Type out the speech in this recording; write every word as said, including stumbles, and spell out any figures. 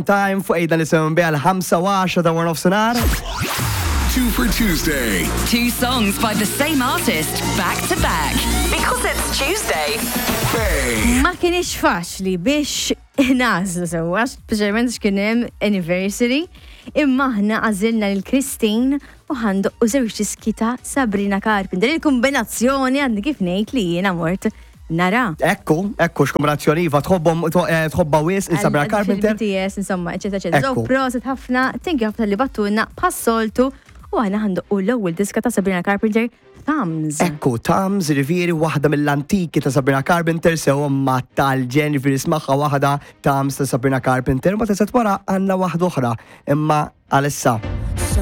Time fuq ejda nisimgħu biha l-ħamsa u għaxra ta' waranofsinhar. Two for Tuesday. Two songs by the same artist back to back. Because it's Tuesday. Bay. Ma kienx faċli biex nagħżlu sewwa, speċjalment x'kien hemm anniversary, imma aħna għażilna lil Christine u ħa ndoqqu żewġ diski ta' Sabrina Carpenter. Il-kombinazzjoni għandi kif ngħid li jiena mort nara. Ekku, ekku, x'kombinazzjoni, iva, tħobbhom, eh, tħobbha wisq il-Sabrina Carpenter. B T S, insomma, eċetera, eċetera. So, Ekku. prosit ħafna, thank you ħafna li bgħattulna bħas-soltu u aħna ħa ndoqqu l-ewwel diska ta' Sabrina Carpenter, Thumbs. Ekku, Thumbs, jiġifieri waħda mill-antiki ta' Sabrina Carpenter, sew ma tal-ġen, jiġifieri ismagħha waħda Thumbs ta' Sabrina Carpenter, ma tazat wara għandna waħda oħra, imma għalissa.